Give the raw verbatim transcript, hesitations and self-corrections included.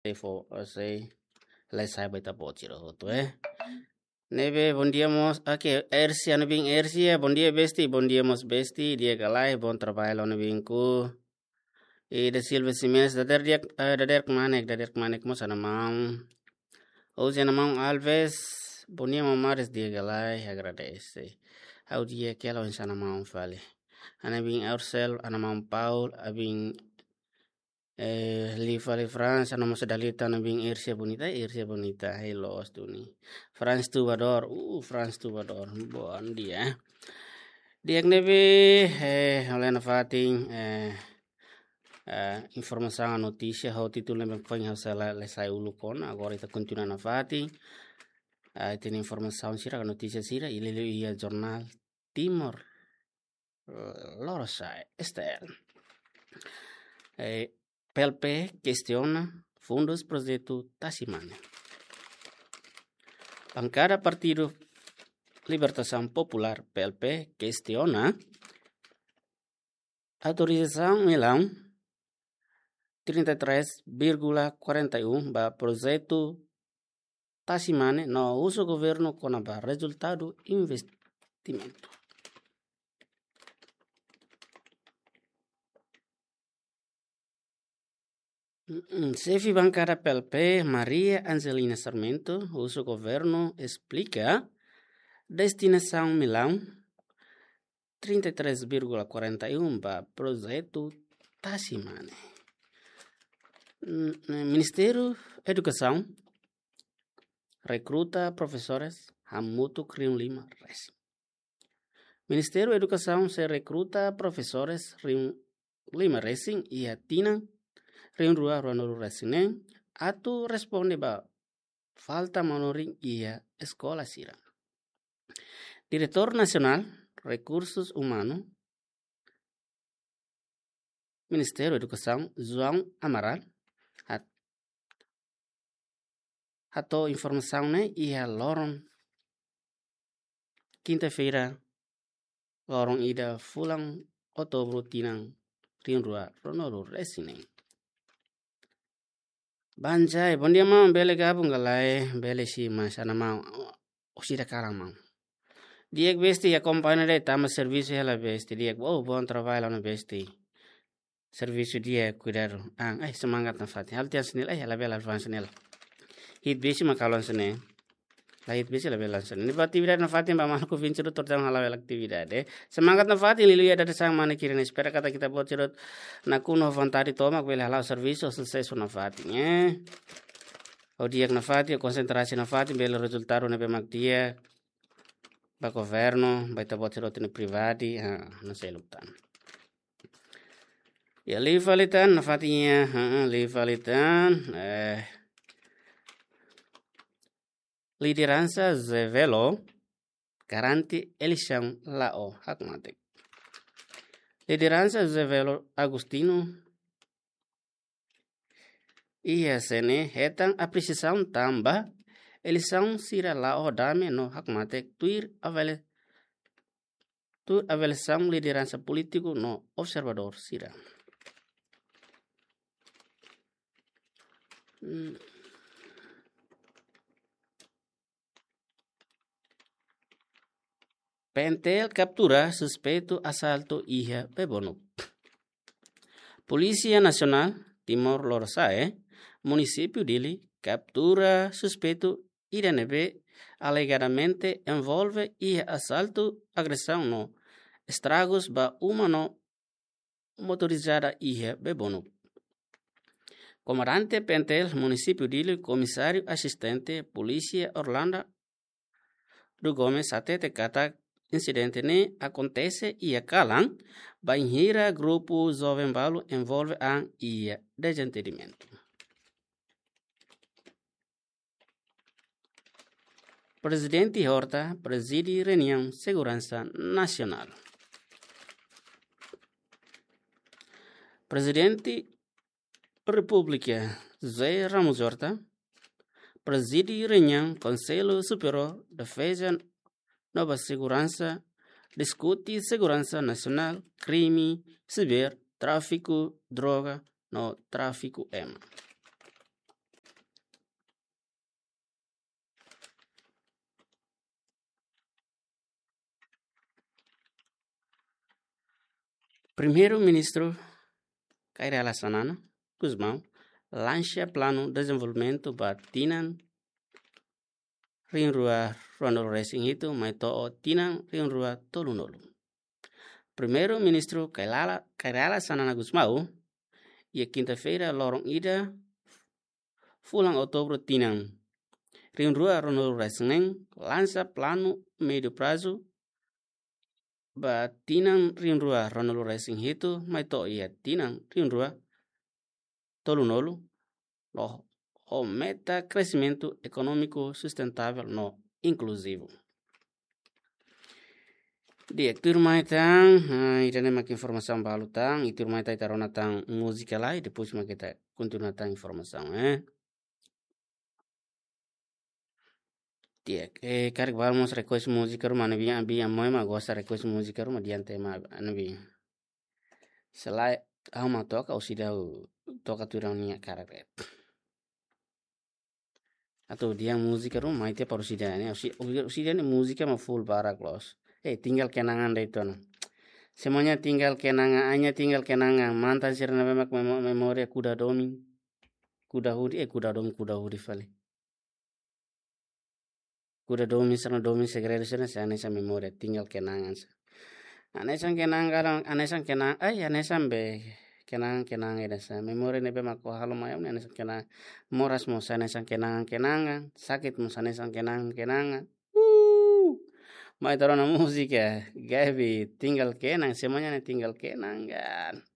Sei fó, sei, lai sai ba ita-boot sira hotu, eh. Ne'ebé, bondia mós, oke, Ersia, ha'u-nia biin Ersia, bondia besti, bondia mós besti, di'ak ka lae, bom trabalho, ha'u-nia biin ku. I da Silva Ximenes, dadeer di'ak, eh, dadeer kmanek, dadeer kmanek mós ha'u-nia maun. Ousé ha'u-nia maun Alves, bondia maun Maris, di'ak ka lae, agradese. Ha'u di'ak hela oinsá ha'u-nia maun fali. Ha'u-nia biin Ursel, ha'u-nia maun Paul, ha'u-nia biin, eh, liu fali Fransa, ha'u-nia maun Sedalita, ha'u-nia biin Ersia Bonita, Ersia Bonita, hei loos duni. Franz Tubador, uh, Franz Tubador, bondia. Di'ak ne'ebé, eh, ha'u lee nafatin, eh, eh, informasaun, notísia, ho títulu ne'ebé foin ha'u sei la, la sai uluk ona, agora ita kontinua nafatin. Eh, ita-nia informasaun sira, notísia sira, i liuliu iha jornál Timor, eh, Lorosa'e, S T L. Eh, P L P kestiona fundus projetu Tasi Mane. Bankada Partidu Libertasaun Populár, P L P, kestiona autorizasaun milhão trinta e três vírgula quarenta e um ba projetu Tasi Mane no husu governu kona-ba rezultadu investimentu. Mm, xefe bankada P L P, Maria Angelina Sarmento, husu governu esplika destinasaun milhão trinta e três vírgula quarenta e um ba projetu Tasi Mane. Mm, Ministériu Edukasaun rekruta profesores hamutuk rihun lima resin. Ministériu Edukasaun sei rekruta profesores rihun lima resin iha tinan rihun rua ruanulu resin neen, atu responde ba falta manorin iha eskola sira. Diretór Nasionál Rekursus Umanu Ministériu Edukasaun, João Amaral, hat-, hato'o informasaun ne'e iha loron kinta-feira, loron ida fulan Outubru tinan rihun rua ruanulu resin neen. Banjai, bondia maun, bele gabung ka lae, bele sim, mas ha'u-nia maun, orsida kalan maun. Di'ak besti, akompaña de'it, tama servisu hela besti, di'ak, oh, bom trabalho, ha'u-nia besti. Servisu di'ak, kuidadu. Ah, eh, semangat nafatin. Halo tiha hanesan ne'e, eh, labele avansa ne'e. Hi'it besik mak halo hanesan ne'e. La hi'it besik labele hanesan ne'e. Ne'ebé atividade nafatin ba maluk oinsá tuir tama halo bele atividade. Semangat nafatin, liuliu iha dadeer-saan mane kirin, espera katak ita-boot sira nakonu ho vontade tomak bele hala'o servisu susesu nafatin, eh. Ho di'ak nafatin, ho konsentrasi nafatin, bele rezultadu ne'ebé mak di'ak ba governu, ba ita-boot sira-nia pribadi, ha, no seluk tan. Ya, liu fali tan, nafatin ya, ha, liu fali tan, eh, lideransa Zé Velo garante eleisaun la'o hakmatek. Lideransa Zé Velo Agostinho iha C N E hetan apresiasaun tanba eleisaun sira la'o dame no hakmatek tuir avali-, tuir avaliasaun lideransa polítiku no observadór sira. Hmm. P N T L kaptura suspeitu asaltu iha Bebonuk. Polísia Nasionál Timor Lorosa'e, Munisípiu Dili, kaptura suspeitu ida ne'ebé alegadamente envolve iha asaltu, agresaun no estragus ba uma no motorizada iha Bebonuk. Komandante P N T L Munisípiu Dili, Komisáriu Asistente Polísia Orlando do Gomes hatete katak insidente ne'e akontese iha kalan bainhira grupu joven balu envolve an iha dezentendimentu. Prezidente Horta prezide reuniaun seguransa nasionál. Prezidente Repúblika José Ramos Horta prezide reuniaun Konsellu Superiór Defeza no ba Seguransa, diskute seguransa nasionál, krime siber, tráfiku droga no tráfiku ema. Primeiru-Ministru Kay Rala Xanana Gusmão lansa planu dezenvolvimentu ba tinan rihun rua ruanulu resin hitu mai to'o tinan rihun rua tolunulu. Primeiru-Ministru Kay Rala, Kay Rala Xanana Gusmão, iha kinta-feira loron ida, fulan Outubru tinan rihun rua ruanulu resin neen, lansa planu médiu prazu ba tinan rihun rua ruanulu resin hitu mai to'o iha tinan rihun rua tolunulu, no ho meta kresimentu ekonómiku sustentável no inkluzivu. Di'ak, tuirmai tan, ah, ida-ne'e mak informasaun balu tan, i tuirmai tan ita rona tan múzika lai, depois mak ita kontinua tan informasaun, eh. Di'ak, eh, karik balu mós request múzika ruma, ne'ebé, ne'ebé, ami ema gosta request múzika ruma, diante ma, ne'ebé. Selae, ha'u mak toka, orsida toka tuir ha'u-nia karik de'it. Atu dehan múzika ruma, mai tiha para orsida ne'e, orsida, orsida ne'e múzika mak full barak loos. Eh, tinggal kenangan de'it ona. Semuanya tinggal kenangan, hanya tinggal kenangan. Mantan sira ne'ebé mak memo-, memória kuda domin. Kuda hudi, eh, kuda domin, kuda hudi fali. Kuda domin sira-ne'e, domin segredu sira-ne'e, hanesan memória, tinggal kenangan sá. Hanesan kenangan, hanesan kenang, ai, hanesan be, kenangan, kenangan ida sá. Memória ne'ebé mak ó halo mai, hanesan kenangan. Moras mós hanesan kenangan, kenangan. Sakit mós hanesan kenangan, kenangan. Uh! Mai ita rona múzika, Gaby, tinggal kenang, semuanya ne'e tinggal kenangan.